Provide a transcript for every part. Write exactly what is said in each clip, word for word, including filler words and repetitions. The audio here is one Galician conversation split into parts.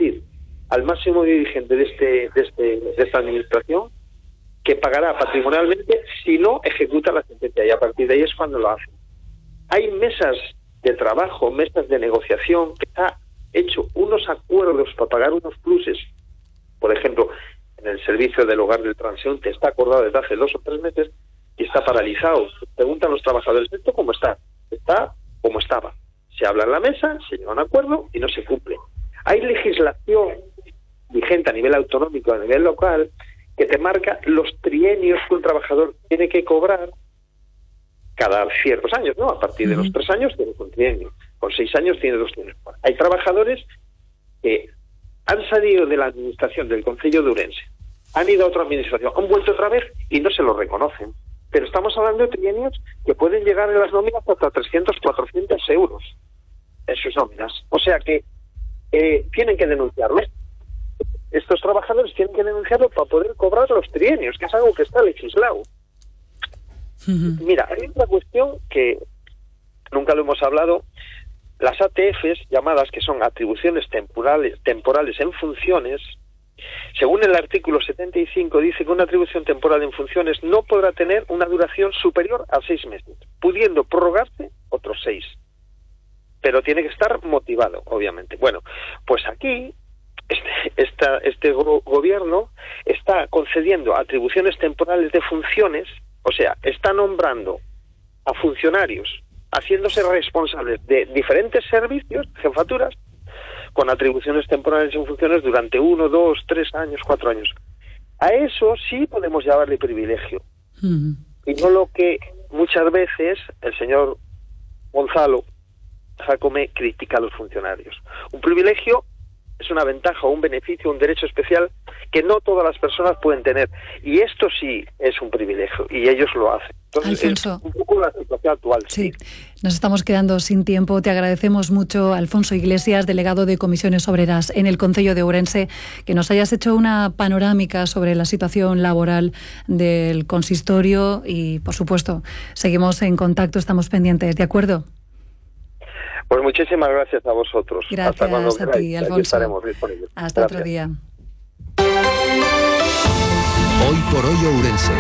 advertir al máximo dirigente de, este, de, este, de esta administración que pagará patrimonialmente si no ejecuta la sentencia, y a partir de ahí es cuando lo hace. Hay mesas de trabajo, mesas de negociación, que está hecho unos acuerdos para pagar unos pluses. Por ejemplo, en el servicio del hogar del transeúnte está acordado desde hace dos o tres meses y está paralizado. Preguntan los trabajadores, ¿esto cómo está? Está como estaba. Se habla en la mesa, se llega a un acuerdo y no se cumple. Hay legislación vigente a nivel autonómico, a nivel local, que te marca los trienios que un trabajador tiene que cobrar cada ciertos años, ¿no? A partir de los tres años tiene un trienio, con seis años tiene dos trienios. Hay trabajadores que han salido de la administración del Concello de Ourense, han ido a otra administración, han vuelto otra vez y no se lo reconocen. Pero estamos hablando de trienios que pueden llegar en las nóminas hasta trescientos, cuatrocientos euros en sus nóminas. O sea que eh, tienen que denunciarlo. Estos trabajadores tienen que denunciarlo para poder cobrar los trienios, que es algo que está legislado. Uh-huh. Mira, hay otra cuestión que nunca lo hemos hablado. Las A T Fs, llamadas que son atribuciones temporales, temporales en funciones, según el artículo setenta y cinco, dice que una atribución temporal en funciones no podrá tener una duración superior a seis meses, pudiendo prorrogarse otros seis. Pero tiene que estar motivado, obviamente. Bueno, pues aquí este, esta, este go- gobierno está concediendo atribuciones temporales de funciones, o sea, está nombrando a funcionarios haciéndose responsables de diferentes servicios, jefaturas, con atribuciones temporales en funciones durante uno, dos, tres años, cuatro años. A eso sí podemos llamarle privilegio. Uh-huh. Y no lo que muchas veces el señor Gonzalo Jácome critica a los funcionarios. Un privilegio es una ventaja, un beneficio, un derecho especial que no todas las personas pueden tener. Y esto sí es un privilegio, y ellos lo hacen. Entonces, Alfonso, es un poco la situación actual. Sí, nos estamos quedando sin tiempo. Te agradecemos mucho, Alfonso Iglesias, delegado de Comisiones Obreras en el Concello de Ourense, que nos hayas hecho una panorámica sobre la situación laboral del consistorio y, por supuesto, seguimos en contacto, estamos pendientes, ¿de acuerdo? Pues muchísimas gracias a vosotros. Gracias Hasta cuando a queráis. ti, Alfonso. Aquí estaremos disponibles. Hasta Gracias. otro día. Hoy por hoy Ourense.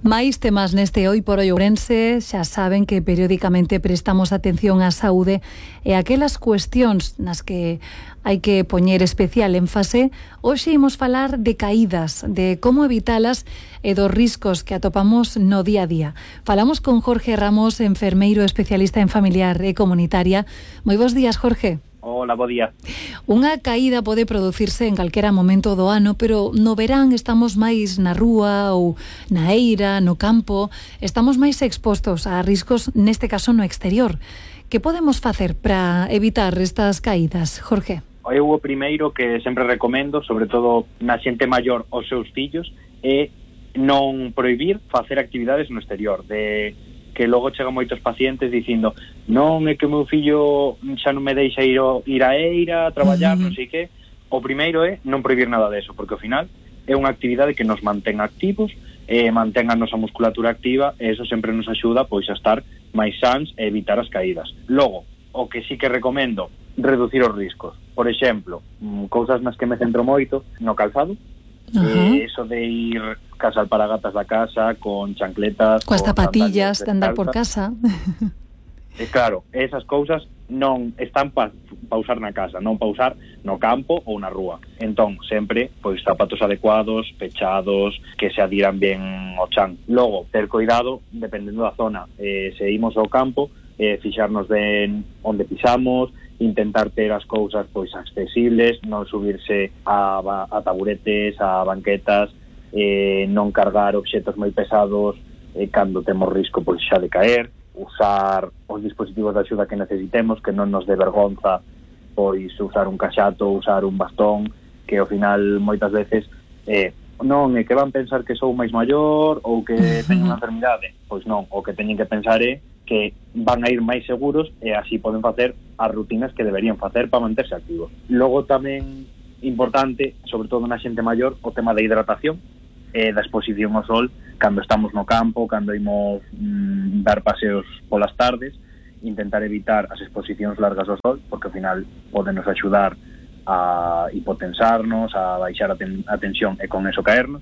Máis temas neste Hoy por Hoy Ourense. Xa saben que periódicamente prestamos atención á saúde e aquelas cuestións nas que hai que poñer especial énfase. Hoxe imos falar de caídas, de como evitalas e dos riscos que atopamos no día a día. Falamos con Jorge Ramos, enfermeiro especialista en familiar e comunitaria. Moi bons días, Jorge. Hola, bo día. Unha caída pode producirse en calquera momento do ano, pero no verán estamos máis na rúa ou na eira, no campo, estamos máis expostos a riscos, neste caso no exterior. Que podemos facer para evitar estas caídas, Jorge? Eu o primeiro que sempre recomendo, sobre todo na xente maior aos seus fillos, é non prohibir facer actividades no exterior, de que logo chegan moitos pacientes dicindo non é que o meu fillo xa non me deixa ir, o, ir a eira a traballar, uh-huh. non sei que. O primeiro é non prohibir nada deso, porque ao final é unha actividade que nos mantén activos, e mantén a nosa musculatura activa, e eso sempre nos axuda pois a estar máis sans e evitar as caídas. Logo, o que sí que recomendo, reducir os riscos. Por exemplo, cousas nas que me centro moito, no calzado. Uh-huh. Eh, eso de ir cas alparagatas da casa con chancletas, coas zapatillas de andar por casa. E claro, esas cousas non están para pa usar na casa, non para usar no campo ou na rúa. Entón, sempre, pois, zapatos adecuados, pechados, que se adiran ben ao chan. Logo, ter cuidado, dependendo da zona. Eh, se imos ao campo, eh, fixarnos ben onde pisamos, intentar ter as cousas pois accesibles, non subirse a, a taburetes, a banquetas, eh, non cargar obxetos moi pesados eh, cando temos risco pois xa de caer, usar os dispositivos de axuda que necesitemos, que non nos dé vergonza pois usar un caxato, usar un bastón, que ao final moitas veces eh, non é que van pensar que sou máis maior ou que teño unha enfermidade. Pois non, o que teñen que pensar é que van a ir máis seguros e así poden facer as rutinas que deberían facer para manterse activos. Logo tamén importante, sobre todo na xente maior, o tema da hidratación e da exposición ao sol cando estamos no campo, cando imos mm, dar paseos polas tardes, intentar evitar as exposicións largas ao sol, porque ao final podenos axudar a hipotensarnos, a baixar a, ten, a tensión e con eso caernos,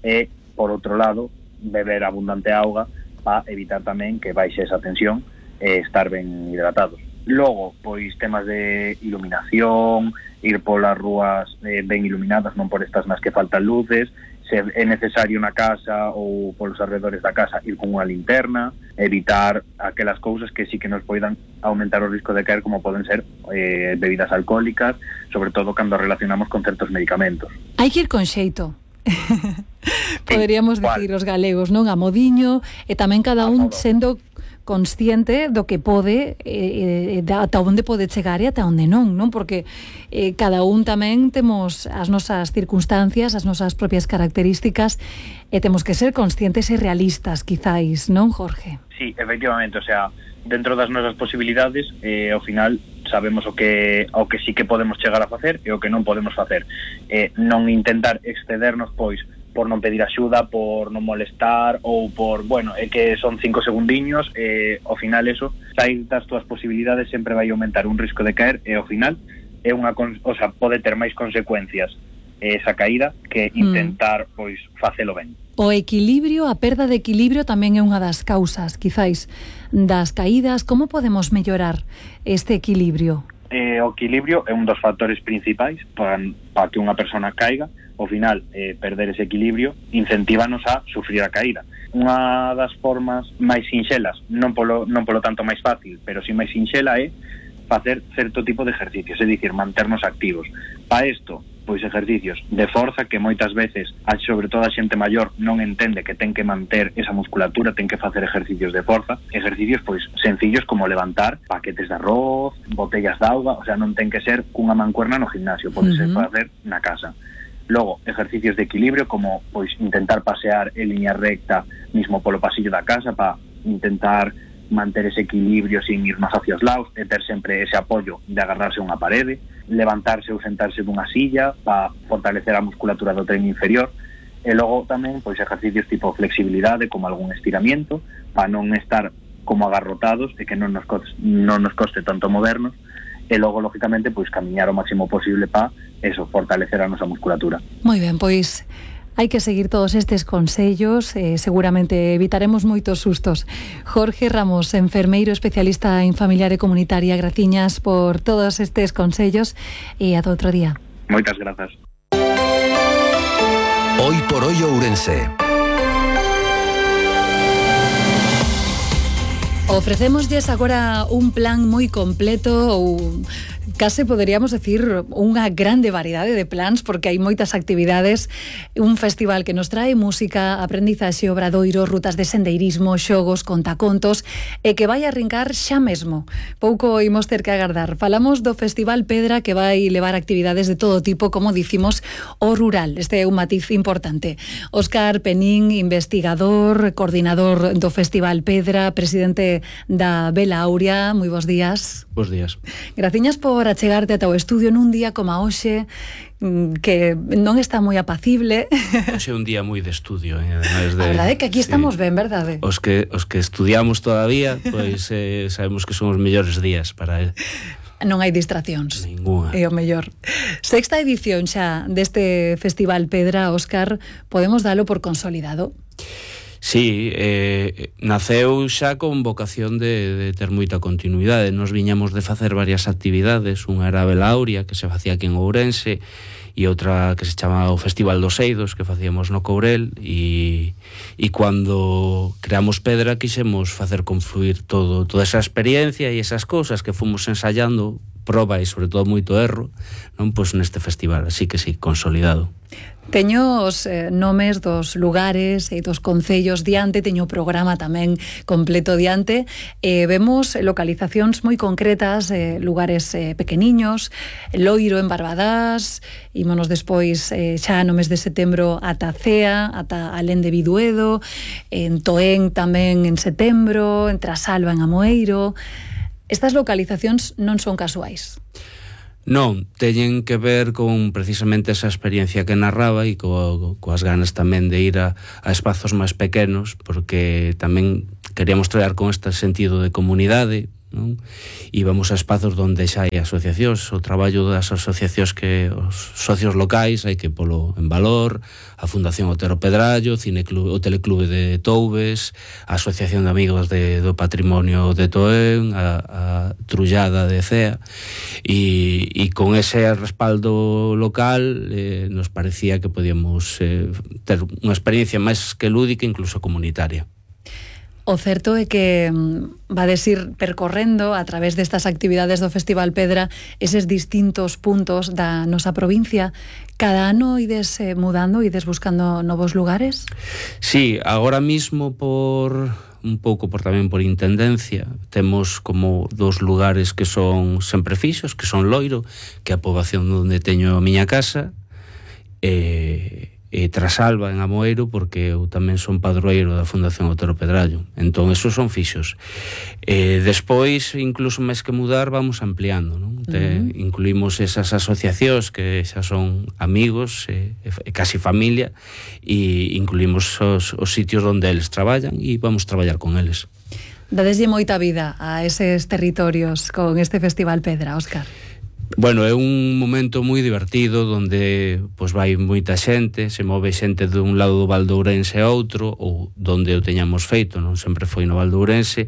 e, por outro lado, beber abundante auga para evitar tamén que baixe esa tensión e estar ben hidratados. Logo, pois, temas de iluminación, ir polas rúas eh, ben iluminadas, non por estas nas que faltan luces, se é necesario na casa ou polos alrededores da casa ir con unha linterna, evitar aquelas cousas que sí que nos poidan aumentar o risco de caer, como poden ser eh, bebidas alcohólicas, sobre todo cando relacionamos con certos medicamentos. Hai que ir con xeito. Poderíamos dicir os galegos, non? A modiño, e tamén cada un sendo consciente do que pode, eh, eh, ata onde pode chegar e ata onde non, non? Porque eh, cada un tamén temos as nosas circunstancias, as nosas propias características, e temos que ser conscientes e realistas, quizáis, non, Jorge? Sí, efectivamente, o sea, dentro das nosas posibilidades, eh, ao final sabemos o que o que sí que podemos chegar a facer e o que non podemos facer. Eh, non intentar excedernos, pois, por non pedir axuda, por non molestar ou por, bueno, é que son cinco segundiños, e ao final eso, sair das túas posibilidades sempre vai aumentar un risco de caer, e ao final é unha, o sea, pode ter máis consecuencias esa caída que intentar, mm. pois, facelo ben. O equilibrio, a perda de equilibrio tamén é unha das causas, quizáis, das caídas. Como podemos mellorar este equilibrio? Eh, o equilibrio é un dos factores principais para, para que unha persona caiga. Ao final, eh, perder ese equilibrio incentívanos a sufrir a caída. Unha das formas máis sinxelas, non polo, non polo tanto máis fácil, pero si máis sinxela, é facer certo tipo de ejercicios, é dicir, manternos activos. Para isto, pois ejercicios de forza que moitas veces, sobre todo a xente maior, non entende que ten que manter esa musculatura, ten que facer ejercicios de forza, ejercicios pois sencillos como levantar paquetes de arroz, botellas de auga, o sea, non ten que ser cunha mancuerna no gimnasio, pode ser uh-huh. facer na casa. Logo, ejercicios de equilibrio como pois intentar pasear en línea recta mismo polo pasillo da casa para intentar manter ese equilibrio sin ir máis hacia os lados e ter sempre ese apoio de agarrarse a unha parede, levantarse ou sentarse dunha silla para fortalecer a musculatura do tren inferior, e logo tamén pois ejercicios tipo flexibilidade como algún estiramiento para non estar como agarrotados e que non nos coste, non nos coste tanto movernos, e logo, lógicamente, pois camiñar o máximo posible para eso, fortalecer a nosa musculatura. Moi ben, pois hai que seguir todos estes consellos, eh, seguramente evitaremos moitos sustos. Jorge Ramos, enfermeiro especialista en familiar e comunitaria, graciñas por todos estes consellos e ata outro día. Moitas grazas. Hoy por hoy Ourense. Ofrecémoslles agora un plan moi completo, ou case poderíamos decir unha grande variedade de plans, porque hai moitas actividades, un festival que nos trae música, aprendizaxe, obradoiro, rutas de sendeirismo, xogos, contacontos, e que vai arrincar xa mesmo. Pouco imos ter que agardar. Falamos do Festival Pedra, que vai levar actividades de todo tipo, como dicimos, o rural. Este é un matiz importante. Óscar Penín, investigador, coordinador do Festival Pedra, presidente da Vela Aurea, moi bons días. Bos días. Graciñas por achegarte ata o estudio nun día como a hoxe, que non está moi apacible. Hoxe é un día moi de estudio, eh? Ademais de, a verdade é que aquí estamos sí, ben, verdade? Os que, os que estudiamos todavía, pois eh, sabemos que son os mellores días para... Eh. Non hai distraccións. Ninguna. É o mellor. Sexta edición xa deste Festival Pedra, Óscar, podemos dalo por consolidado? Sí, eh, naceu xa con vocación de, de ter moita continuidade. Nos viñamos de facer varias actividades, unha era a Vela Aurea, que se facía aquí en Ourense, e outra que se chamaba o Festival dos Eidos, que facíamos no Courel, e, e cando creamos Pedra quixemos facer confluir todo, toda esa experiencia e esas cousas que fomos ensayando, proba e sobre todo moito erro, non, pois neste festival, así que sí, consolidado. Teño os eh, nomes dos lugares e dos concellos diante, teño o programa tamén completo diante, e vemos localizacións moi concretas, eh, lugares eh, pequeniños, Loiro en Barbadás, ímonos despois eh, xa no mes de setembro ata Cea, ata Alén de Biduedo, en Toén tamén en setembro, en Trasalba en Amoeiro. Estas localizacións non son casuais. Non, teñen que ver con precisamente esa experiencia que narraba e co, coas ganas tamén de ir a, a espazos máis pequenos, porque tamén queríamos traer con este sentido de comunidade, non? Íbamos a espazos onde xa hai asociacións, o traballo das asociacións que os socios locais hai que polo en valor, a Fundación Otero Pedrallo, Cineclube, o Teleclube de Toubes, a Asociación de Amigos de, do Patrimonio de Toén, a, a Trullada de Cea, e, e con ese respaldo local eh, nos parecía que podíamos eh, ter unha experiencia máis que lúdica, incluso comunitaria. O certo é que vades ir percorrendo a través destas actividades do Festival Pedra eses distintos puntos da nosa provincia. Cada ano ides eh, mudando, ides buscando novos lugares? Sí, agora mismo por un pouco por tamén por intendencia temos como dos lugares que son sempre fixos, que son Loiro, que é a poboación onde teño a miña casa, e e Trasalba en Amoeiro, porque eu tamén son padroeiro da Fundación Otero Pedrallo, entón esos son fixos. E despois, incluso máis que mudar, vamos ampliando, non? Te, uh-huh. Incluímos esas asociacións que xa son amigos e, e casi familia, e incluímos os, os sitios onde eles traballan e vamos traballar con eles. Dadeslle moita vida a eses territorios con este Festival Pedra, Óscar. Bueno, é un momento moi divertido onde pois vai moita xente, se move xente dun lado do Val de Ourense a outro, ou donde o teñamos feito, non sempre foi no Val de Ourense,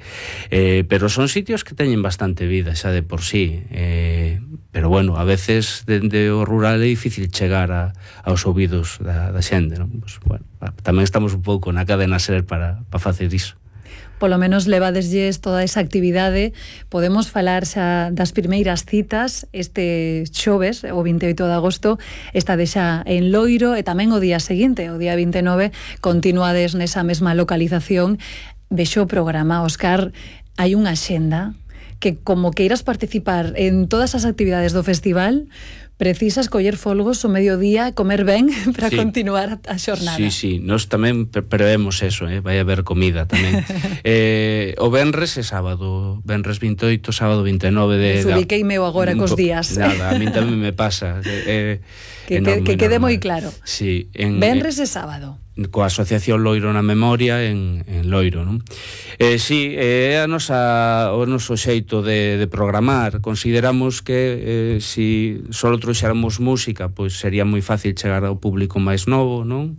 eh, pero son sitios que teñen bastante vida xa de por sí, eh, pero bueno, a veces dende o rural é difícil chegar a, aos ouvidos da, da xente, non? Pues, bueno, tamén estamos un pouco na cadena SER para, para facer iso. Polo menos levadeslles toda esa actividade. Podemos falar xa das primeiras citas este xoves, o vinte e oito de agosto, esta de xa en Loiro, e tamén o día seguinte, o día vinte e nove, continuades nesa mesma localización. Vexo o programa, Óscar, hai unha xenda que, como queiras participar en todas as actividades do festival, precisas coller folgos o mediodía, comer ben para sí. continuar a xornada. Sí, sí, nós tamén prevemos eso, eh? Vai haber comida tamén. eh, o venres é sábado, venres vinte e oito, sábado vinte e nove de... Desubiqueime eu agora cos días. Nada, a mí tamén me pasa. Eh, que, enorme, que, que quede moi claro. Sí, en, venres e sábado. Coa Asociación Loiro na Memoria en, en Loiro, non? Eh, sí, é a nosa, o noso xeito de, de programar. Consideramos que eh, si só trouxéramos música, pois sería moi fácil chegar ao público máis novo, non?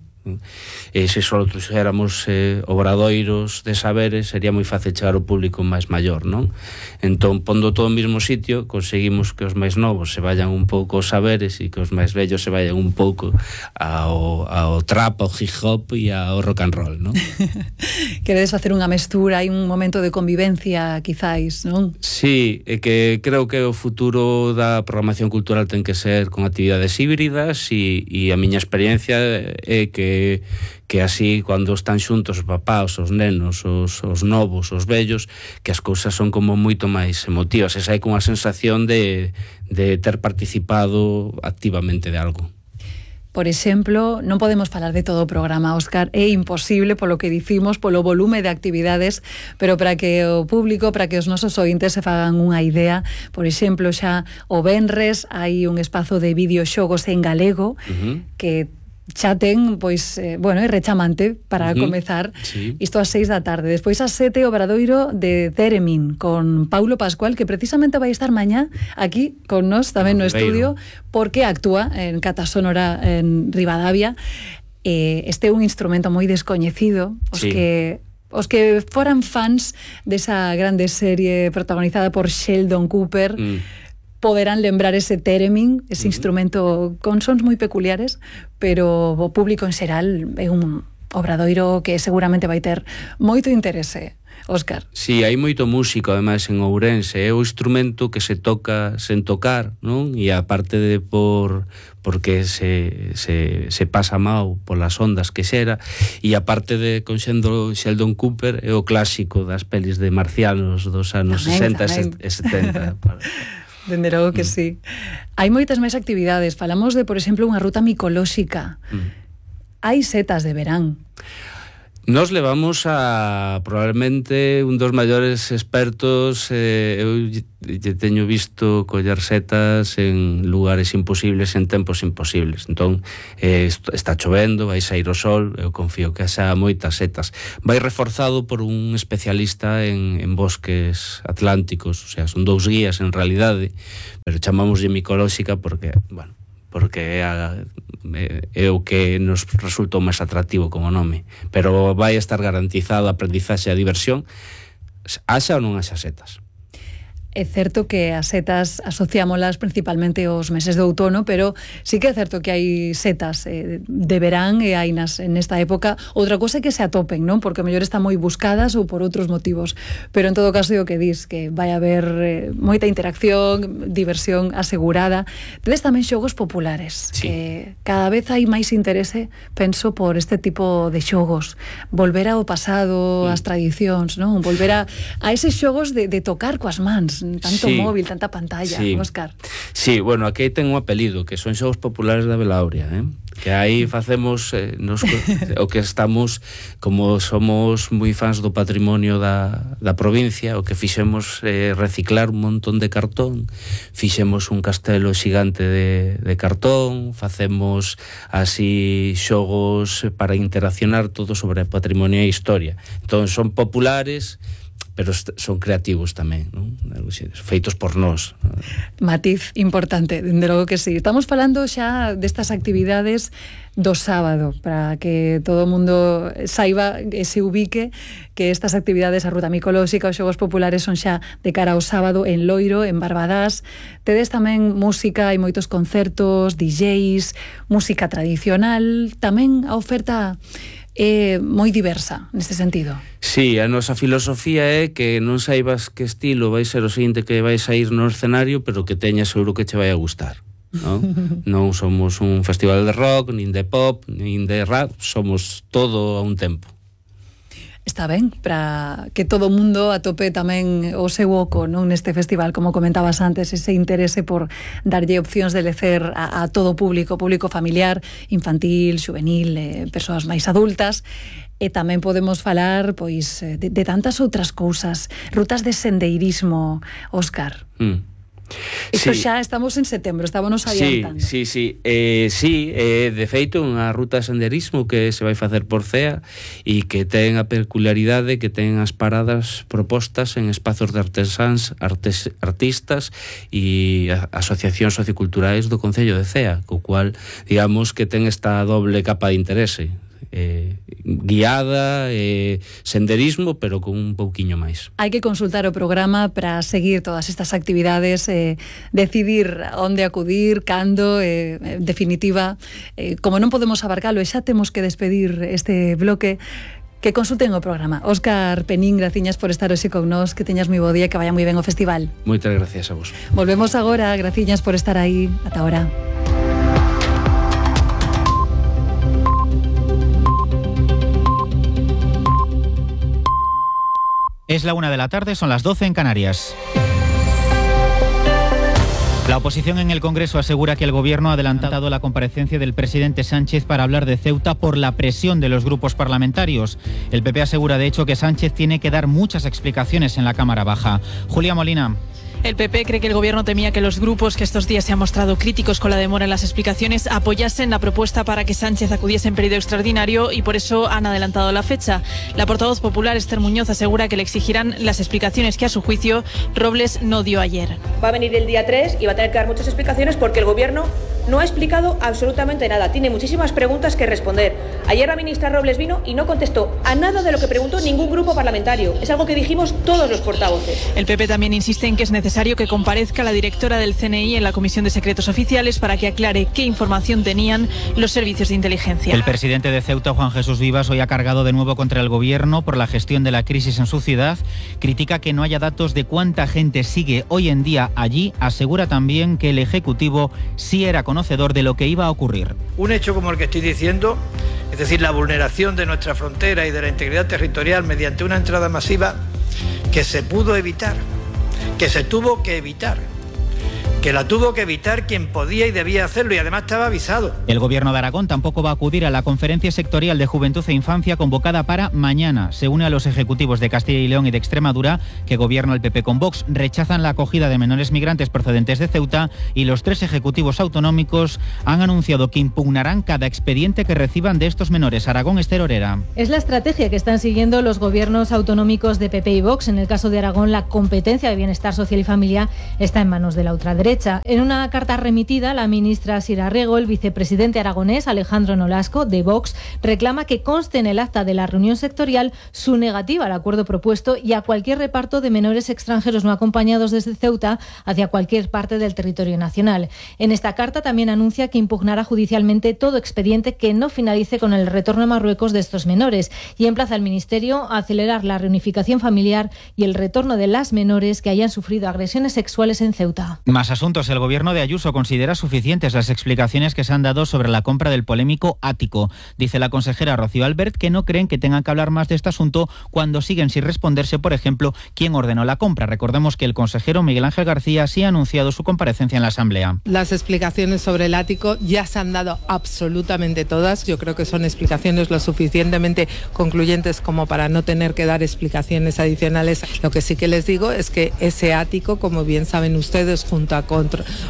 E se só trouxéramos eh, obradoiros de saberes, sería moi fácil chegar ao público máis maior, non? Entón, pondo todo o mesmo sitio, conseguimos que os máis novos se vayan un pouco aos saberes e que os máis vellos se vayan un pouco ao, ao trap, ao hip hop e ao rock and roll, non? Queredes facer unha mestura, hai un momento de convivencia, quizáis, non? Sí, é que creo que o futuro da programación cultural ten que ser con actividades híbridas, e, e a miña experiencia é que que así, cando están xuntos os papás, os nenos, os, os novos, os vellos, que as cousas son como moito máis emotivas, e hai como a sensación de, de ter participado activamente de algo. Por exemplo, non podemos falar de todo o programa, Óscar, é imposible polo que dicimos, polo volume de actividades, pero para que o público, para que os nosos ointes se fagan unha idea, por exemplo, xa o venres hai un espazo de videoxogos en galego, uh-huh. que xa ten, pois, eh, bueno, é rechamante para uh-huh. comezar sí. isto ás seis da tarde. Despois ás sete o Obradoiro de Theremin con Paulo Pascual, que precisamente vai estar mañá aquí con nós tamén no, no estudio, porque actúa en Cata Sonora en Ribadavia. Eh, este é un instrumento moi descoñecido, os sí. que os que foran fans desa grande serie protagonizada por Sheldon Cooper, mm. poderán lembrar ese theremin, ese uh-huh. instrumento con sons moi peculiares, pero o público en xeral é un obradoiro que seguramente vai ter moito interese. Óscar. Sí, hai moito músico, ademais, en Ourense. É o instrumento que se toca sen tocar, non? E aparte de por porque se, se, se pasa mau polas ondas que xera, e aparte de conxendo Sheldon Cooper, é o clásico das pelis de marcianos dos anos tamén, sesenta tamén. E setenta. Para... Dende logo que mm. sí. Hai moitas máis actividades. Falamos de, por exemplo, unha ruta micolóxica. Mm. Hai setas de verán. Nos levamos a probablemente un dos maiores expertos. eh, eu lle teño visto coller setas en lugares imposibles, en tempos imposibles. Entón, eh, está chovendo, vai sair o sol, eu confío que xa moitas setas. Vai reforzado por un especialista en, en bosques atlánticos, o sea, son dous guías en realidade, pero chamámoslle micolóxica porque, bueno, porque é, a, é o que nos resultou máis atractivo como nome, pero vai estar garantizado a aprendizaxe e a diversión, haxa ou non haxa setas. É certo que as setas asociámolas principalmente aos meses de outono, pero sí que é certo que hai setas eh, de verán e hai nas, en esta época. Outra cosa é que se atopen, non? Porque a mellor están moi buscadas ou por outros motivos. Pero en todo caso, o que dis, que vai haber eh, moita interacción, diversión asegurada. Tedes tamén xogos populares. Sí. Que cada vez hai máis interese, penso, por este tipo de xogos. Volver ao pasado, Mm. as tradicións, non? Volver a, a eses xogos de, de tocar coas mans. Tanto Sí. móvil, tanta pantalla, Sí. Óscar. Sí, bueno, aquí ten un apelido, que son xogos populares da Belauria, eh? Que aí facemos eh, nos, o que estamos, como somos moi fans do patrimonio da, da provincia, o que fixemos eh, reciclar un montón de cartón, fixemos un castelo xigante de, de cartón, facemos así xogos para interaccionar todo sobre patrimonio e historia. Entón son populares, pero son creativos tamén, non? Feitos por nós. Matiz importante, dende logo que sí. Estamos falando xa destas actividades do sábado, para que todo o mundo saiba e se ubique que estas actividades, a ruta micolóxica, os xogos populares, son xa de cara ao sábado en Loiro, en Barbadás. Tedes tamén música, hai moitos concertos, D Js, música tradicional, tamén a oferta é moi diversa neste sentido. Sí, a nosa filosofía é que non saibas que estilo vai ser o seguinte que vai sair no escenario, pero que teñas seguro que che vai a gustar, non? Non somos un festival de rock, nin de pop, nin de rap, somos todo a un tempo. Está ben, para que todo o mundo atope tamén o seu oco, non, neste festival, como comentabas antes, ese interese por darlle opcións de lecer a, a todo o público, público familiar, infantil, juvenil, eh, persoas máis adultas. E tamén podemos falar, pois, de, de tantas outras cousas, rutas de sendeirismo, Óscar. Mm. Isto Sí. xa estamos en setembro, estábamos adiantando. Sí, sí, sí. Eh, sí, eh, de feito, unha ruta de senderismo que se vai facer por C E A e que ten a peculiaridade que ten as paradas propostas en espazos de artesáns, artes, artistas e asociacións socioculturais do Concello de C E A, co cual, digamos, que ten esta doble capa de interese. Eh, guiada, eh, senderismo, pero con un pouquiño máis. Hai que consultar o programa para seguir todas estas actividades, eh, decidir onde acudir, cando, eh, en definitiva, eh, como non podemos abarcalo e xa temos que despedir este bloque, que consulten o programa. Óscar Penín, graciñas por estar hoxe con nós, que teñas moi bo día, que vaya moi ben o festival. Moitas gracias a vos. Volvemos agora, graciñas por estar aí. Ata ahora. Es la una de la tarde, son las doce en Canarias. La oposición en el Congreso asegura que el Gobierno ha adelantado la comparecencia del presidente Sánchez para hablar de Ceuta por la presión de los grupos parlamentarios. El P P asegura, de hecho, que Sánchez tiene que dar muchas explicaciones en la Cámara Baja. Julia Molina. El P P cree que el Gobierno temía que los grupos que estos días se han mostrado críticos con la demora en las explicaciones apoyasen la propuesta para que Sánchez acudiese en periodo extraordinario y por eso han adelantado la fecha. La portavoz popular Esther Muñoz asegura que le exigirán las explicaciones que a su juicio Robles no dio ayer. Va a venir el día tres y va a tener que dar muchas explicaciones porque el Gobierno no ha explicado absolutamente nada. Tiene muchísimas preguntas que responder. Ayer la ministra Robles vino y no contestó a nada de lo que preguntó ningún grupo parlamentario. Es algo que dijimos todos los portavoces. El P P también insiste en que es necesario que comparezca la directora del C N I en la Comisión de Secretos Oficiales para que aclare qué información tenían los servicios de inteligencia. El presidente de Ceuta, Juan Jesús Vivas, hoy ha cargado de nuevo contra el Gobierno por la gestión de la crisis en su ciudad. Critica que no haya datos de cuánta gente sigue hoy en día allí. Asegura también que el Ejecutivo sí era conocedor de lo que iba a ocurrir. Un hecho como el que estoy diciendo, es decir, la vulneración de nuestra frontera y de la integridad territorial mediante una entrada masiva que se pudo evitar, que se tuvo que evitar, que la tuvo que evitar quien podía y debía hacerlo, y además estaba avisado. El Gobierno de Aragón tampoco va a acudir a la Conferencia Sectorial de Juventud e Infancia convocada para mañana. Se une a los ejecutivos de Castilla y León y de Extremadura, que gobierna el P P con Vox. Rechazan la acogida de menores migrantes procedentes de Ceuta, y los tres ejecutivos autonómicos han anunciado que impugnarán cada expediente que reciban de estos menores. Aragón, Ester Orera. Es la estrategia que están siguiendo los gobiernos autonómicos de P P y Vox. En el caso de Aragón, la competencia de bienestar social y familia está en manos de la ultraderecha. En una carta remitida, la ministra Sira Rego, el vicepresidente aragonés Alejandro Nolasco, de Vox, reclama que conste en el acta de la reunión sectorial su negativa al acuerdo propuesto y a cualquier reparto de menores extranjeros no acompañados desde Ceuta hacia cualquier parte del territorio nacional. En esta carta también anuncia que impugnará judicialmente todo expediente que no finalice con el retorno a Marruecos de estos menores, y emplaza al Ministerio a acelerar la reunificación familiar y el retorno de las menores que hayan sufrido agresiones sexuales en Ceuta. Más asuntos. El Gobierno de Ayuso considera suficientes las explicaciones que se han dado sobre la compra del polémico ático. Dice la consejera Rocío Albert que no creen que tengan que hablar más de este asunto cuando siguen sin responderse, por ejemplo, quién ordenó la compra. Recordemos que el consejero Miguel Ángel García sí ha anunciado su comparecencia en la Asamblea. Las explicaciones sobre el ático ya se han dado absolutamente todas. Yo creo que son explicaciones lo suficientemente concluyentes como para no tener que dar explicaciones adicionales. Lo que sí que les digo es que ese ático, como bien saben ustedes, junto a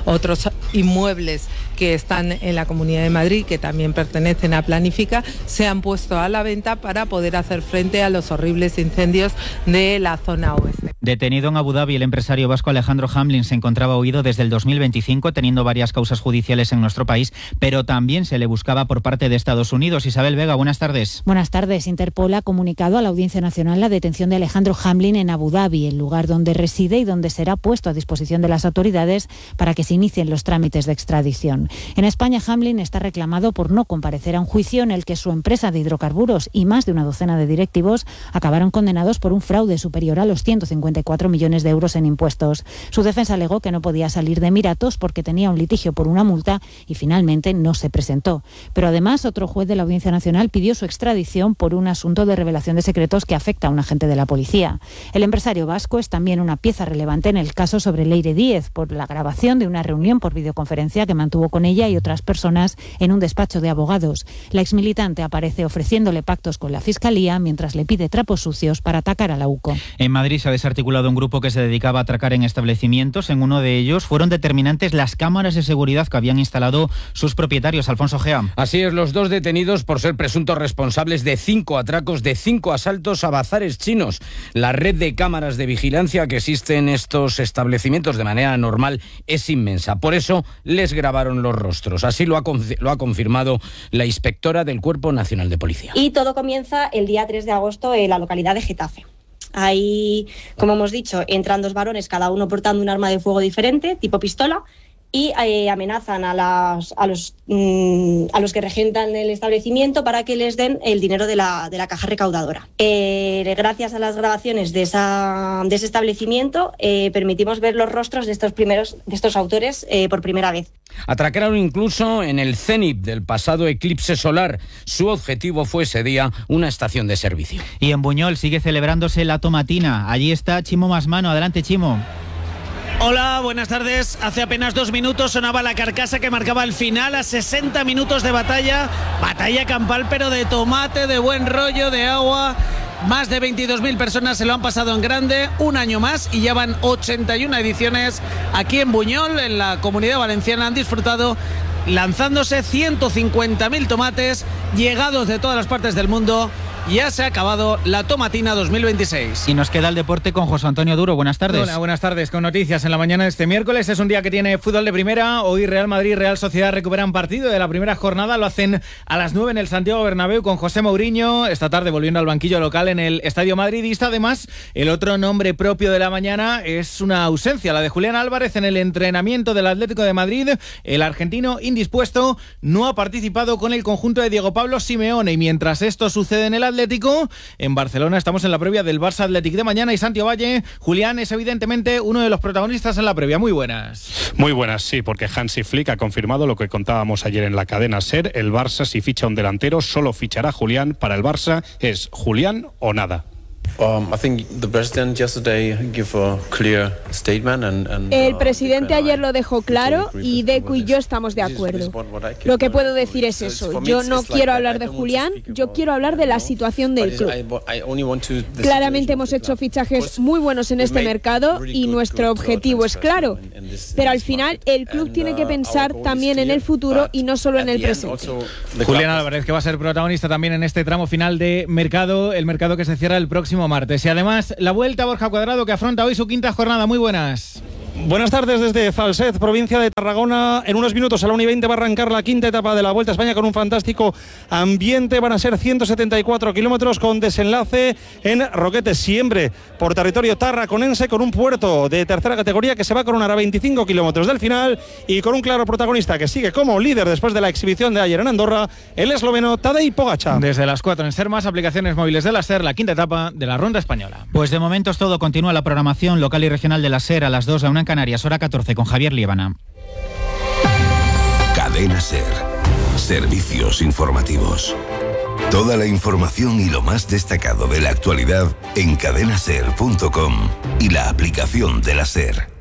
otros inmuebles que están en la Comunidad de Madrid, que también pertenecen a Planifica, se han puesto a la venta para poder hacer frente a los horribles incendios de la zona oeste. Detenido en Abu Dhabi, el empresario vasco Alejandro Hamlin se encontraba huido desde el dos mil veinticinco, teniendo varias causas judiciales en nuestro país, pero también se le buscaba por parte de Estados Unidos. Isabel Vega, buenas tardes. Buenas tardes. Interpol ha comunicado a la Audiencia Nacional la detención de Alejandro Hamlin en Abu Dhabi, el lugar donde reside y donde será puesto a disposición de las autoridades para que se inicien los trámites de extradición. En España, Hamlin está reclamado por no comparecer a un juicio en el que su empresa de hidrocarburos y más de una docena de directivos acabaron condenados por un fraude superior a los ciento cincuenta y cuatro millones de euros en impuestos. Su defensa alegó que no podía salir de Emiratos porque tenía un litigio por una multa y finalmente no se presentó. Pero además, otro juez de la Audiencia Nacional pidió su extradición por un asunto de revelación de secretos que afecta a un agente de la policía. El empresario vasco es también una pieza relevante en el caso sobre Leire Díez por la grabación de una reunión por videoconferencia que mantuvo con ella y otras personas en un despacho de abogados. La exmilitante aparece ofreciéndole pactos con la Fiscalía mientras le pide trapos sucios para atacar a la U C O. En Madrid se ha desarticulado un grupo que se dedicaba a atracar en establecimientos. En uno de ellos fueron determinantes las cámaras de seguridad que habían instalado sus propietarios. Alfonso Gea. Así es, los dos detenidos por ser presuntos responsables de cinco atracos, de cinco asaltos a bazares chinos. La red de cámaras de vigilancia que existe en estos establecimientos de manera normal es inmensa. Por eso les grabaron los rostros. Así lo ha, lo ha confirmado la inspectora del Cuerpo Nacional de Policía. Y todo comienza el día tres de agosto en la localidad de Getafe. Ahí, como hemos dicho, entran dos varones, cada uno portando un arma de fuego diferente, tipo pistola, y eh, amenazan a, las, a, los, mmm, a los que regentan el establecimiento para que les den el dinero de la, de la caja recaudadora. Eh, gracias a las grabaciones de, esa, de ese establecimiento, eh, permitimos ver los rostros de estos, primeros, de estos autores eh, por primera vez. Atracaron incluso en el cenit del pasado eclipse solar. Su objetivo fue ese día una estación de servicio. Y en Buñol sigue celebrándose la tomatina. Allí está Chimo Masmano. Adelante, Chimo. Hola, buenas tardes. Hace apenas dos minutos sonaba la carcasa que marcaba el final a sesenta minutos de batalla. Batalla campal, pero de tomate, de buen rollo, de agua. Más de veintidós mil personas se lo han pasado en grande, un año más, y ya van ochenta y una ediciones aquí en Buñol, en la Comunidad Valenciana. Han disfrutado lanzándose ciento cincuenta mil tomates llegados de todas las partes del mundo. Ya se ha acabado la tomatina dos mil veintiséis. Y nos queda el deporte con José Antonio Duro. Buenas tardes. Hola, buenas tardes. Con noticias en la mañana de este miércoles. Es un día que tiene fútbol de primera. Hoy Real Madrid y Real Sociedad recuperan partido de la primera jornada. Lo hacen a las nueve en el Santiago Bernabéu con José Mourinho. Esta tarde volviendo al banquillo local en el Estadio Madridista. Además, el otro nombre propio de la mañana es una ausencia, la de Julián Álvarez en el entrenamiento del Atlético de Madrid. El argentino indispuesto no ha participado con el conjunto de Diego Pablo Simeone. Y mientras esto sucede en el Atlético, en Barcelona estamos en la previa del Barça Athletic de mañana y Santiago Valle, Julián, es evidentemente uno de los protagonistas en la previa. Muy buenas. Muy buenas, sí, porque Hansi Flick ha confirmado lo que contábamos ayer en la cadena SER. El Barça, si ficha un delantero, solo fichará Julián. Para el Barça es Julián o nada. El presidente ayer lo dejó claro y Decu y yo estamos de acuerdo. Lo que puedo decir es eso. Yo no quiero hablar de Julián, yo quiero hablar de la situación del club. Claramente hemos hecho fichajes muy buenos en este mercado y nuestro objetivo es claro. Pero al final el club tiene que pensar también en el futuro y no solo en el presente. Julián Álvarez, que va a ser protagonista también en este tramo final de mercado, el mercado que se cierra el próximo martes. Y además, la vuelta a Borja Cuadrado, que afronta hoy su quinta jornada. Muy buenas. Buenas tardes desde Falset, provincia de Tarragona. En unos minutos a la una y veinte va a arrancar la quinta etapa de la Vuelta a España con un fantástico ambiente. Van a ser ciento setenta y cuatro kilómetros con desenlace en Roquetes, siempre por territorio tarraconense, con un puerto de tercera categoría que se va a coronar a veinticinco kilómetros del final y con un claro protagonista que sigue como líder después de la exhibición de ayer en Andorra, el esloveno Tadej Pogačar. Desde las cuatro en SER Más, aplicaciones móviles de la SER, la quinta etapa de la Ronda Española. Pues de momento es todo. Continúa la programación local y regional de la SER a las dos, a una en Canarias, hora catorce, con Javier Liébana. Cadena SER. Servicios informativos. Toda la información y lo más destacado de la actualidad en cadena ser punto com y la aplicación de la SER.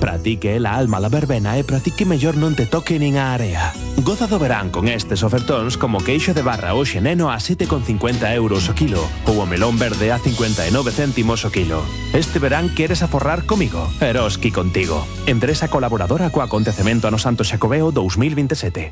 Pratique la alma la verbena e pratique mellor non te toque nin a area. Goza do verán con estes ofertóns como queixo de barra o xeneno a sete con cincuenta euros o kilo ou o melón verde a cincuenta e nove céntimos o kilo. Este verán queres aforrar comigo? Eroski contigo. Empresa colaboradora co acontecemento a no Santo Xacobeo dos mil veintisiete.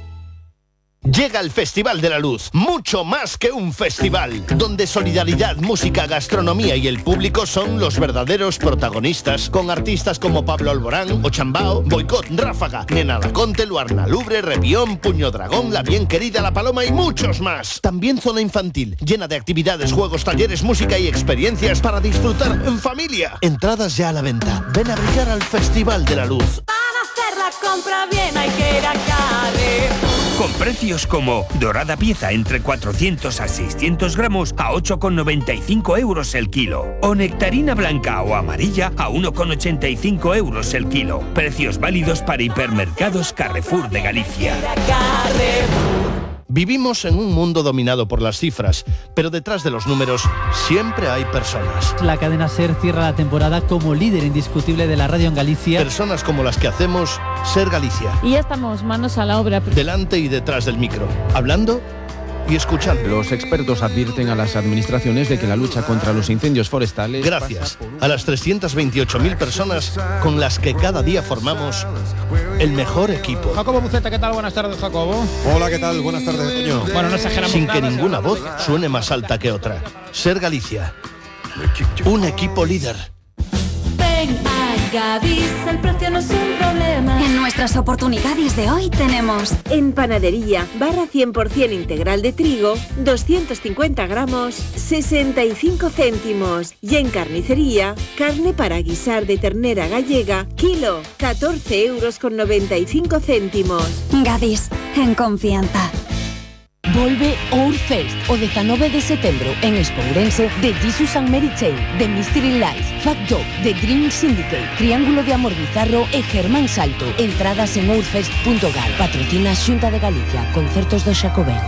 Llega el Festival de la Luz, mucho más que un festival, donde solidaridad, música, gastronomía y el público son los verdaderos protagonistas, con artistas como Pablo Alborán, Ochambao, Boicot, Ráfaga, Nena Laconte, Luarna Lubre, Repión, Puño Dragón, La Bien Querida, La Paloma y muchos más. También zona infantil, llena de actividades, juegos, talleres, música y experiencias para disfrutar en familia. Entradas ya a la venta. Ven a brillar al Festival de la Luz. Para hacer la compra bien hay que ir a Carrefour. Con precios como dorada pieza entre cuatrocientos a seiscientos gramos a ocho con noventa y cinco euros el kilo. O nectarina blanca o amarilla a uno con ochenta y cinco euros el kilo. Precios válidos para hipermercados Carrefour de Galicia. Vivimos en un mundo dominado por las cifras, pero detrás de los números siempre hay personas. La cadena SER cierra la temporada como líder indiscutible de la radio en Galicia. Personas como las que hacemos SER Galicia. Y ya estamos manos a la obra. Delante y detrás del micro, hablando y escuchando. Los expertos advierten a las administraciones de que la lucha contra los incendios forestales... Gracias a las trescientas veintiocho mil personas con las que cada día formamos el mejor equipo. Jacobo Buceta, ¿qué tal? Buenas tardes, Jacobo. Hola, ¿qué tal? Buenas tardes, Toño. Bueno, no exageramos Sin nada, que ninguna voz suene más alta que otra. SER Galicia. Un equipo líder. Ven a Gadis, el precio no es un problema. En nuestras oportunidades de hoy tenemos en panadería, barra cien por ciento integral de trigo, doscientos cincuenta gramos, sesenta y cinco céntimos. Y en carnicería, carne para guisar de ternera gallega, kilo, catorce euros con noventa y cinco céntimos. Gadis, en confianza. Volve Ourfest o dezanove de setembro en Expo Ourense de Jesus and Mary Chain, de Mystery Lights, Fat Dog, de Dream Syndicate, Triángulo de Amor Bizarro e Germán Salto. Entradas en ourfest punto gal. Patrocina Xunta de Galicia, concertos do Xacobeo.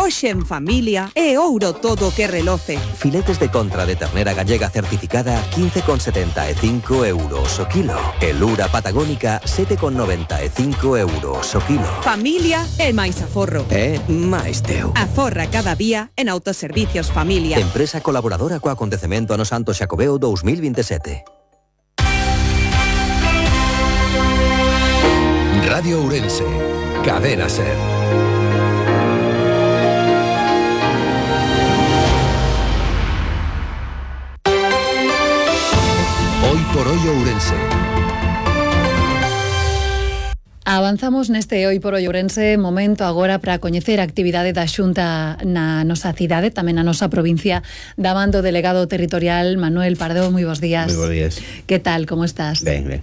Hoxe en familia é ouro todo que reloce. Filetes de contra de ternera gallega certificada quince con setenta e cinco euros o kilo. E lura patagónica sete con noventa e cinco euros o kilo. Familia é máis aforro. É máis teu. Aforra cada día en Autoservicios Familia. Empresa colaboradora co acontecemento ano Santo Xacobeo dos mil veintisiete. Radio Ourense, Cadena SER. Hoy por hoy Ourense. Avanzamos neste Hoy por Hoy Ourense, momento agora para coñecer a actividade da Xunta na nosa cidade, tamén na nosa provincia, da man do delegado territorial Manuel Pardo. Moi bons días. Moi bons días. Que tal, como estás? Ben, ben.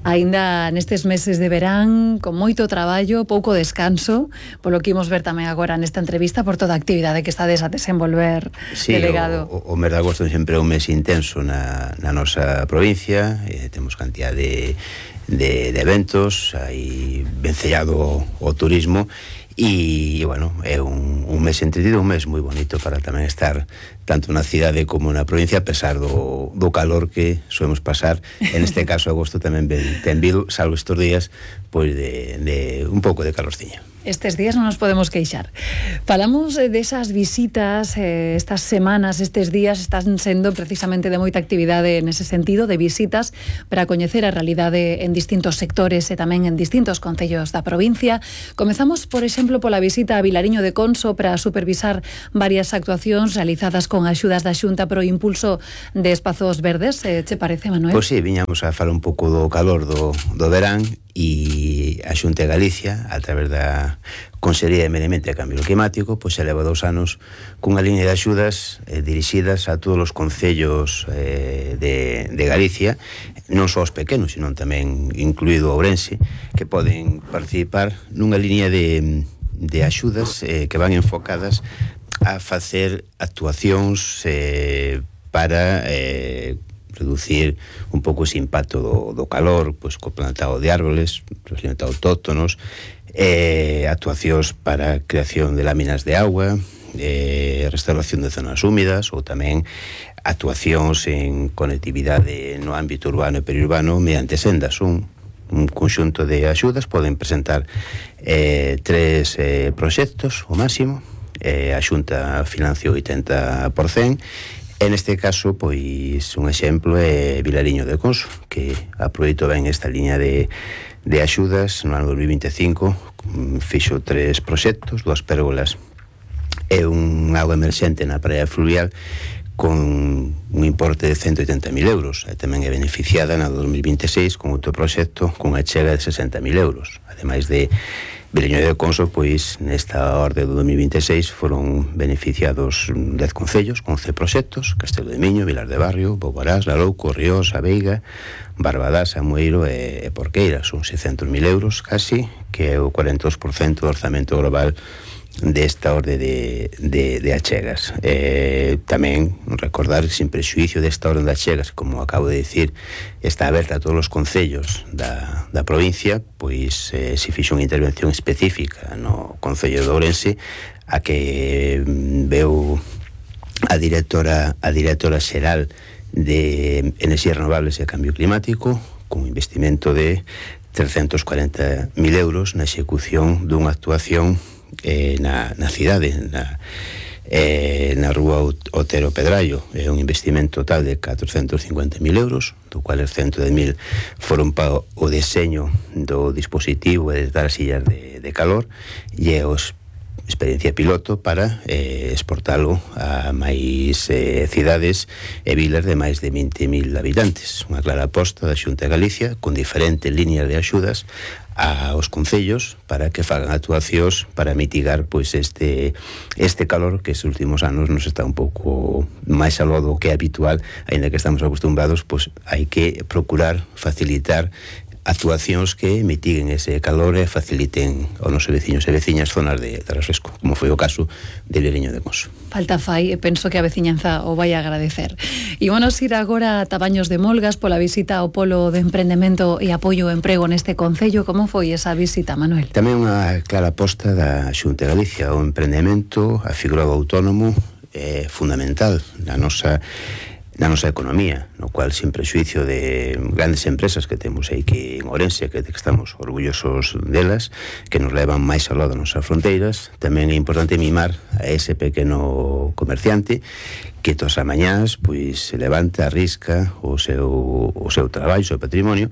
Aínda nestes meses de verán, con moito traballo, pouco descanso, polo que imos ver tamén agora nesta entrevista por toda a actividade que estades a desenvolver, sí, delegado. O, o mes de agosto sempre é un mes intenso na, na nosa provincia, eh, temos cantidad de, de, de eventos, hai vencellado o turismo, e, bueno, é un, un mes entretido, un mes moi bonito para tamén estar tanto na cidade como na provincia, a pesar do, do calor que solemos pasar. En este caso, agosto tamén ben, ten vido, salvo estes días, pois de, de un pouco de calorciña. Estes días non nos podemos queixar. Falamos desas visitas, eh, estas semanas, estes días están sendo precisamente de moita actividade nese sentido, de visitas para coñecer a realidade en distintos sectores e tamén en distintos concellos da provincia. Comezamos, por exemplo, pola visita a Vilariño de Conso para supervisar varias actuacións realizadas con axudas da Xunta pro impulso de espazos verdes. Eh, che parece, Manuel? Pois sí, viñamos a falar un pouco do calor do, do verán, e a Xunta de Galicia, a través da Consellería de Medio Ambiente e Cambio Climático, pois se leva dous anos cunha liña de axudas eh, dirixidas a todos os concellos eh, de, de Galicia, non só os pequenos, sino tamén incluído Ourense, que poden participar nunha liña de, de axudas eh, que van enfocadas a facer actuacións eh, para eh, reducir un pouco ese impacto do, do calor, pois co plantado de árboles, plantado autóctonos, eh, actuacións para creación de láminas de agua, eh, restauración de zonas húmidas, ou tamén actuacións en conectividade no ámbito urbano e periurbano mediante sendas. Un, un conxunto de axudas, poden presentar eh, tres eh, proxectos, o máximo, eh, a Xunta financia o oitenta por cento. En este caso, pois, un exemplo é Vilariño de Conso, que aproveitou ben esta liña de, de axudas no ano dos mil vinte e cinco, fixo tres proxectos, dúas pérgolas e un auga emerxente na praia fluvial con un importe de ciento oitenta mil euros. E tamén é beneficiada na dos mil vinte e seis con outro proxecto con a chega de sesenta mil euros. Ademais de Vilariño de Conso, pois nesta orde do dos mil vinte e seis foron beneficiados dez concellos con once proxectos: Castelo de Miño, Vilar de Barrio, Boborás, Larouco, Ríos, A Veiga, Barbadás, Amueiro e, e Porqueira. Son seiscentos mil euros casi, que é o cuarenta e dos por cento do orzamento global desta orde de, de, de achegas. Eh, tamén recordar, sin prexuicio desta orde de achegas, como acabo de decir, está aberta a todos os concellos da, da provincia, pois eh, se fixo unha intervención específica no concello de Ourense, a que veu a directora a directora xeral de Enerxías Renovables e Cambio Climático, con un investimento de trescentos cuarenta mil euros na execución dunha actuación Eh, na, na cidade, na, eh, na rúa Otero Pedrallo. É un investimento total de catrocentos cincuenta mil euros, do cual os cento de mil foron para o deseño do dispositivo e de dar as sillas de, de calor, e os experiencia piloto para eh, exportalo a máis eh, cidades e vilas de máis de vinte mil habitantes. Unha clara aposta da Xunta de Galicia con diferentes líneas de axudas aos concellos para que fagan actuacións para mitigar pois este este calor que estes últimos anos nos está un pouco máis aló do que é habitual, aínda que estamos acostumbrados, pois hai que procurar facilitar actuacións que mitiguen ese calor e faciliten aos nosos veciños e veciñas zonas de, de refresco, como foi o caso de Vilariño de Conso. Falta fai, e penso que a veciñanza o vai a agradecer. E vamos ir agora a Tabaños de Molgas pola visita ao Polo de Emprendemento e Apoio ao Emprego neste concello. Como foi esa visita, Manuel? Tamén unha clara aposta da Xunta de Galicia. O emprendemento, a figura do autónomo, é fundamental na nosa na nosa economía, no cual, sin prexuicio de grandes empresas que temos aí que en Ourense, que estamos orgullosos delas, que nos levan máis ao lado das nosas fronteiras, tamén é importante mimar a ese pequeno comerciante que todas as mañás pois se levanta, arrisca o seu, o seu traballo, o seu patrimonio,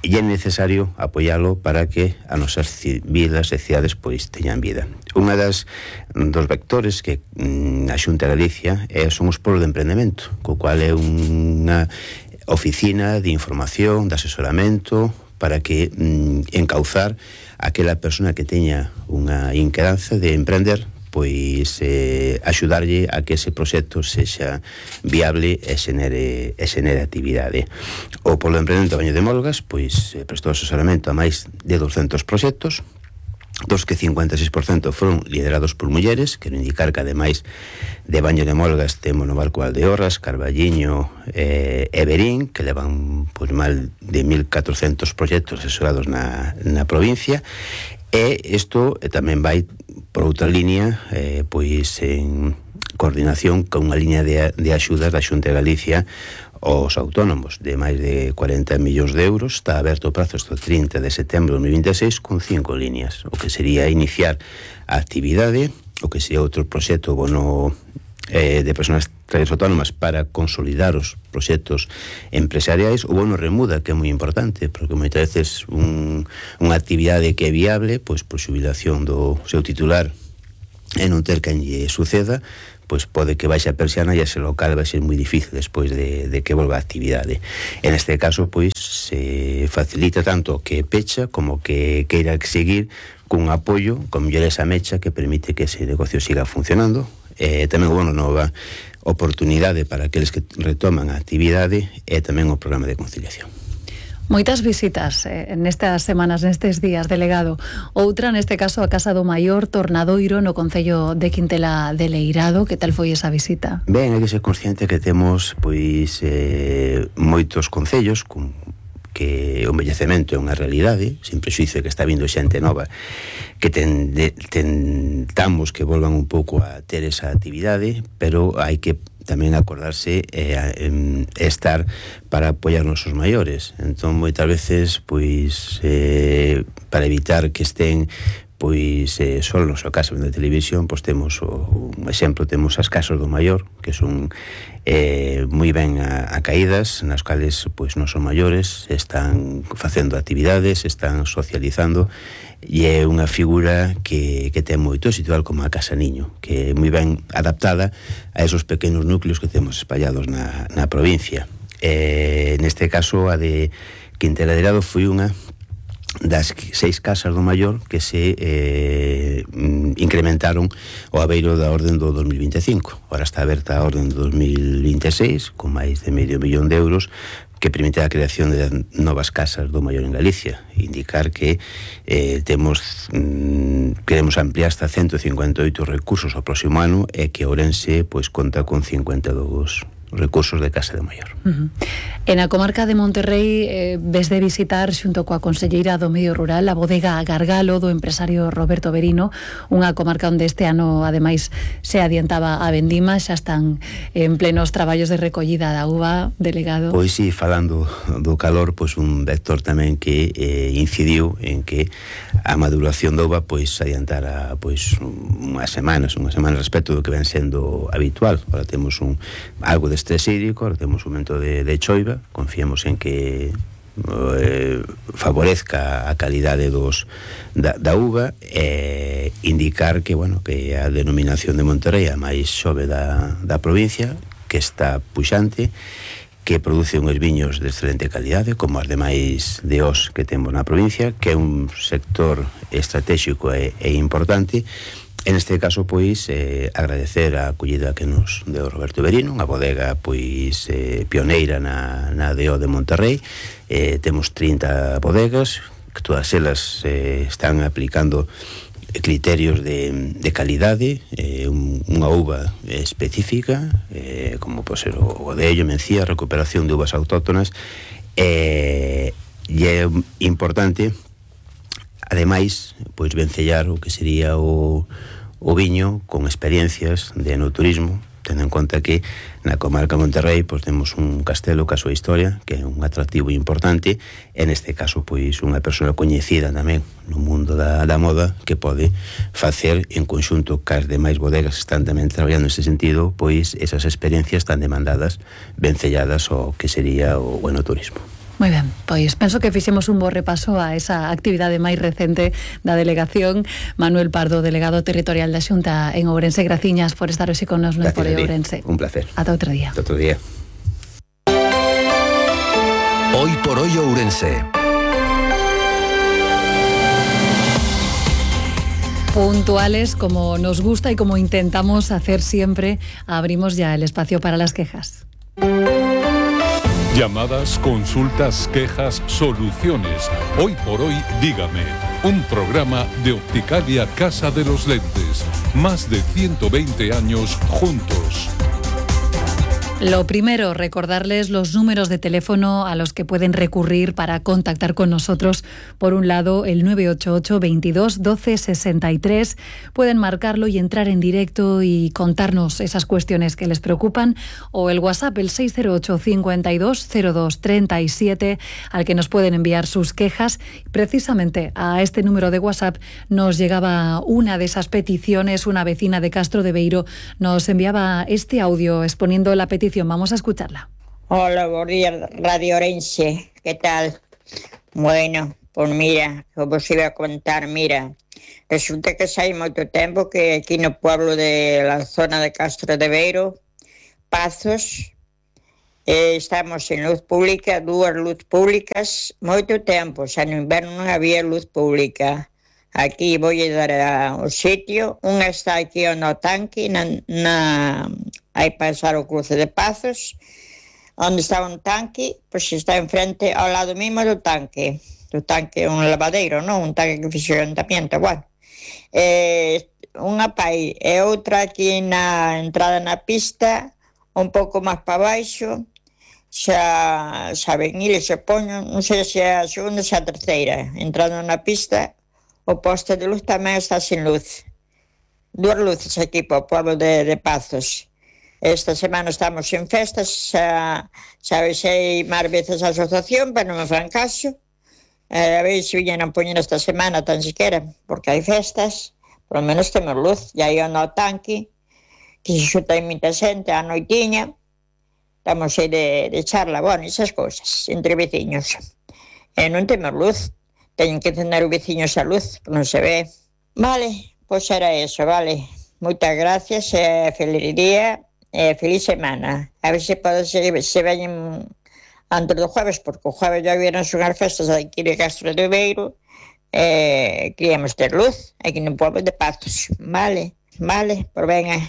e é necesario apoialo para que as nosas vilas e cidades pois teñan vida. Unha das dos vectores que mm, a Xunta de Galicia é, son os polos de emprendemento, co cual é unha oficina de información, de asesoramento para que mm, encauzar aquela persona que teña unha inquedanza de emprender, pois eh, axudarlle a que ese proxecto sexa viable e xenere, e xenere actividade. O Polo de Emprendemento Tabaño de Molgas pois eh, prestou asesoramento a máis de douscentos proxectos, dos que cincuenta e seis por cento foron liderados por mulleres. Quero indicar que ademais de Baño de Molgas temos no Barco Valdeorras, Carballiño e eh, Berín, que levan pois mal de mil catrocentos proxectos asesorados na, na provincia. E isto tamén vai por outra línea, eh, pois en coordinación con unha línea de, de axudas da Xunta de Galicia aos autónomos de máis de cuarenta millóns de euros. Está aberto o prazo hasta o trinta de setembro de dos mil vinte e seis con cinco líneas, o que sería iniciar a actividade, o que sería outro proxecto bono eh, de persoas autónomas para consolidar os proxectos empresariais, o bono remuda, que é moi importante, porque moitas veces un, unha actividade que é viable, pois por xubilación do seu titular e non ter quen lle suceda, pois pode que baixe a persiana e ese local vai ser moi difícil despois de, de que volva a actividade. En este caso, pois, se facilita tanto que pecha como que queira seguir cun apoio, con mellor esa mecha que permite que ese negocio siga funcionando. Eh, tamén o bono nova oportunidade para aqueles que retoman a actividade e tamén o programa de conciliación. Moitas visitas eh, nestas semanas, nestes días, delegado. Outra, neste caso, a Casa do Maior Tornadoiro no Concello de Quintela de Leirado. Que tal foi esa visita? Ben, hai que ser consciente que temos pois eh, moitos concellos con que o envellecemento é unha realidade, sin prexuízo que está vindo xente nova, que ten, de, tentamos que volvan un pouco a ter esa actividade, pero hai que tamén acordarse e eh, estar para apoiar nosos maiores. Entón, moitas veces, pois, eh, para evitar que estén pois eh, só no seu caso de televisión, pois temos o, un exemplo, temos as casas do maior, que son eh, moi ben acaídas, nas cales pois nosos maiores están facendo actividades, están socializando, e é unha figura que, que ten moito éxito, como a Casa Niño, que é moi ben adaptada a esos pequenos núcleos que temos espallados na, na provincia. Eh, neste caso, a de Quintela de Leirado foi unha das seis casas do maior que se eh, incrementaron o abeiro da orden do dos mil vinte e cinco. Ahora está aberta a orden do dos mil vinte e seis con máis de medio millón de euros, que permite a creación de novas casas do maior en Galicia. Indicar que eh, temos mm, queremos ampliar hasta ciento cincuenta e oito recursos ao próximo ano, e que Ourense pois conta con cincuenta e dous recursos de Casa de Maior. Uh-huh. En a comarca de Monterrey eh, ves de visitar xunto coa conselleira do Medio Rural a bodega Gargalo do empresario Roberto Verino, unha comarca onde este ano ademais se adiantaba a vendima, xa están en plenos traballos de recollida da uva, delegado. Pois si, falando do calor, pois un vector tamén que eh, incidiu en que a maduración da uva pois adiantara pois unhas semanas, unhas semanas respecto do que ven sendo habitual. Ahora temos un algo de estrés hídrico, ahora temos un momento de, de choiva, confiemos en que eh, favorezca a calidade dos da, da uva, e eh, indicar que, bueno, que a denominación de Monterrey a máis xove da, da provincia, que está puxante, que produce uns viños de excelente calidade, como as demais de os que temos na provincia, que é un sector estratégico e, e importante. En este caso, pois, eh, agradecer a acollida que nos deu Roberto Verino, unha bodega, pois, eh, pioneira na, na D O de Monterrey. Eh, temos trinta bodegas, que todas elas eh, están aplicando criterios de, de calidade, eh, un, unha uva específica, eh, como pode ser o Godello, Mencía, recuperación de uvas autóctonas, eh, e é importante, ademais, pois vencellar o que sería o, o viño con experiencias de enoturismo, tendo en conta que na comarca de Monterrey pois temos un castelo ca súa historia, que é un atractivo importante, en este caso pois unha persoa coñecida tamén no mundo da, da moda, que pode facer en conxunto cas demais bodegas que están tamén traballando neste sentido, pois esas experiencias tan demandadas, vencelladas ao que sería o enoturismo. Moi ben, pois penso que fixemos un bo repaso a esa actividade máis recente da delegación. Manuel Pardo, delegado territorial da Xunta en Ourense, graciñas por estar hoxe con nos no Foro Ourense. Un placer. Ata outro día. Ata outro día. Hoy por hoy Ourense. Puntuales, como nos gusta y como intentamos hacer siempre, abrimos ya el espacio para las quejas. Llamadas, consultas, quejas, soluciones. Hoy por hoy, dígame. Un programa de Opticalia Casa de los Lentes. Más de ciento veinte años juntos. Lo primero, recordarles los números de teléfono a los que pueden recurrir para contactar con nosotros. Por un lado, el nueve ocho ocho, veintidós, doce, sesenta y tres. Pueden marcarlo y entrar en directo y contarnos esas cuestiones que les preocupan. O el WhatsApp, el seis cero ocho, cincuenta y dos, cero dos, treinta y siete, al que nos pueden enviar sus quejas. Precisamente a este número de WhatsApp nos llegaba una de esas peticiones. Una vecina de Castro de Beiro nos enviaba este audio exponiendo la petición. Vamos a escucharla. Hola, buenos días, Radio Orense. ¿Qué tal? Bueno, pues mira, como os iba a contar, mira, resulta que hace mucho tiempo que aquí en el pueblo de la zona de Castro de Beiro, Pazos, eh, estamos en luz pública, dos luz públicas, mucho tiempo, o sea, en invierno no había luz pública. Aquí voy a dar a un sitio, una está aquí en el tanque, na, na, hay pasar o cruce de Pazos, donde está un tanque, pues está enfrente, ao lado mismo do tanque, do tanque, un lavadeiro, non? Un tanque que fixo o ayuntamiento, bueno. Eh, unha pai e outra aquí na entrada na pista, un pouco máis para baixo, xa, xa ven eles se poñen, non sei se é a segunda ou se a terceira, entrando na pista, o poste de luz tamén está sin luz. Duas luces aquí para o pueblo de, de Pazos. Esta semana estamos en festas, xa, xa avisei máis veces a asociación, pero non me fan caso. Eh, a ver se viñen a poñer esta semana tan siquiera, porque hai festas, por lo menos temos luz. E aí no tanque, que se xuta en moita xente, a noitiña, estamos aí de, de charla, bueno, esas cousas, entre veciños. E non temos luz. Teñen que encender os veciños a luz, non se ve. Vale, pois era eso, vale. Moitas gracias, e feliz día, e feliz semana. A ver se pode se, se veñen antes do jueves, porque o jueves ya vieron unhas festas aquí de Castro de Beiro, e queríamos ter luz aquí no pueblo de Pazos. Vale, vale, por venga,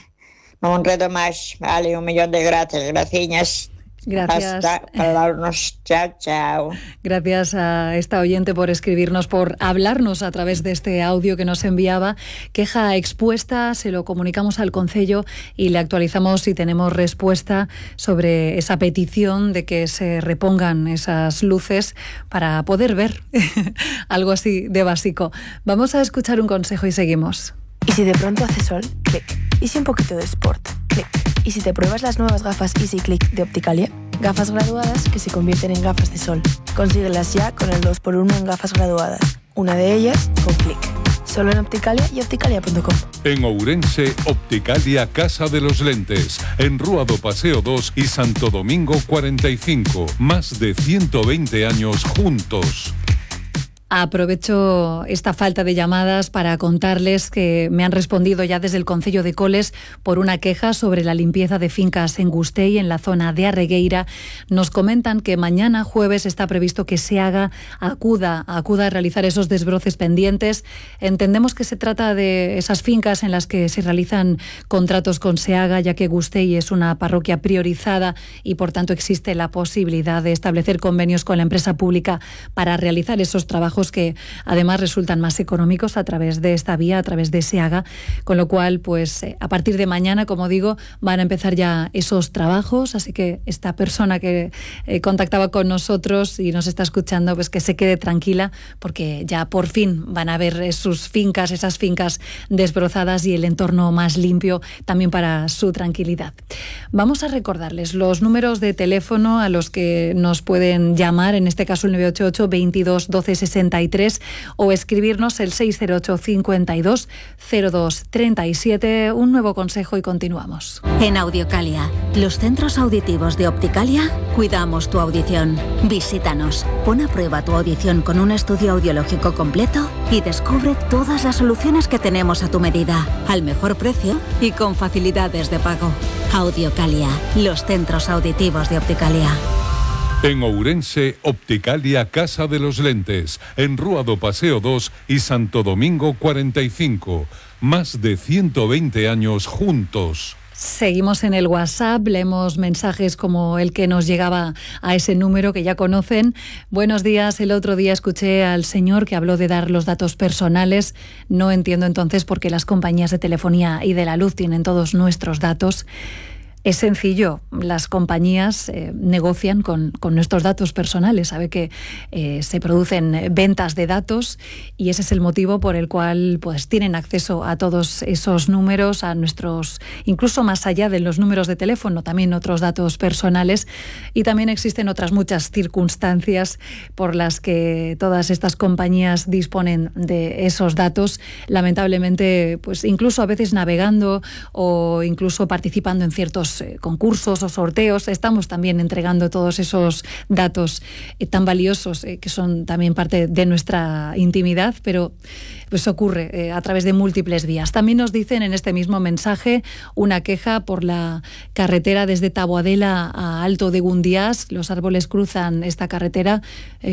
non enredo máis. Vale, un millón de gracias, graciñas. Gracias. Hasta hablarnos. Chao, chao. Gracias a esta oyente por escribirnos, por hablarnos a través de este audio que nos enviaba. Queja expuesta, se lo comunicamos al Concello y le actualizamos si tenemos respuesta sobre esa petición de que se repongan esas luces para poder ver algo así de básico. Vamos a escuchar un consejo y seguimos. ¿Y si de pronto hace sol? Clic. ¿Y si un poquito de sport? Clic. ¿Y si te pruebas las nuevas gafas Easy Click de Opticalia? Gafas graduadas que se convierten en gafas de sol. Consíguelas ya con el dos por uno en gafas graduadas. Una de ellas con Clic. Solo en Opticalia y opticalia punto com. En Ourense, Opticalia Casa de los Lentes. En Rúa do Paseo dos y Santo Domingo cuarenta y cinco. Más de ciento veinte años juntos. Aprovecho esta falta de llamadas para contarles que me han respondido ya desde el Concello de Coles por una queja sobre la limpieza de fincas en Gustei, en la zona de Arregueira. Nos comentan que mañana jueves está previsto que SEAGA acuda, acuda a realizar esos desbroces pendientes. Entendemos que se trata de esas fincas en las que se realizan contratos con SEAGA, ya que Gustei es una parroquia priorizada y por tanto existe la posibilidad de establecer convenios con la empresa pública para realizar esos trabajos que además resultan más económicos a través de esta vía, a través de SEAGA, con lo cual, pues a partir de mañana, como digo, van a empezar ya esos trabajos, así que esta persona que eh, contactaba con nosotros y nos está escuchando, pues que se quede tranquila, porque ya por fin van a ver sus fincas, esas fincas desbrozadas y el entorno más limpio también para su tranquilidad. Vamos a recordarles los números de teléfono a los que nos pueden llamar, en este caso el nueve ocho ocho, veintidós, doce, sesenta y tres, o escribirnos el seis cero ocho, cincuenta y dos, cero dos, treinta y siete. Un nuevo consejo y continuamos. En Audiocalia, los centros auditivos de Opticalia, cuidamos tu audición. Visítanos, pon a prueba tu audición con un estudio audiológico completo y descubre todas las soluciones que tenemos a tu medida, al mejor precio y con facilidades de pago. Audiocalia, los centros auditivos de Opticalia. En Ourense, Opticalia Casa de los Lentes, en Rúa do Paseo dos y Santo Domingo cuarenta y cinco. Más de ciento veinte años juntos. Seguimos en el WhatsApp, leemos mensajes como el que nos llegaba a ese número que ya conocen. Buenos días, el otro día escuché al señor que habló de dar los datos personales. No entiendo entonces por qué las compañías de telefonía y de la luz tienen todos nuestros datos. Es sencillo, las compañías eh, negocian con, con nuestros datos personales, sabe que eh, se producen ventas de datos y ese es el motivo por el cual pues tienen acceso a todos esos números, a nuestros, incluso más allá de los números de teléfono, también otros datos personales, y también existen otras muchas circunstancias por las que todas estas compañías disponen de esos datos, lamentablemente pues incluso a veces navegando o incluso participando en ciertos concursos o sorteos, estamos también entregando todos esos datos eh, tan valiosos eh, que son también parte de nuestra intimidad, pero pues ocurre eh, a través de múltiples vías. También nos dicen en este mismo mensaje una queja por la carretera desde Taboadela a Alto de Gundiás. Los árboles cruzan esta carretera eh,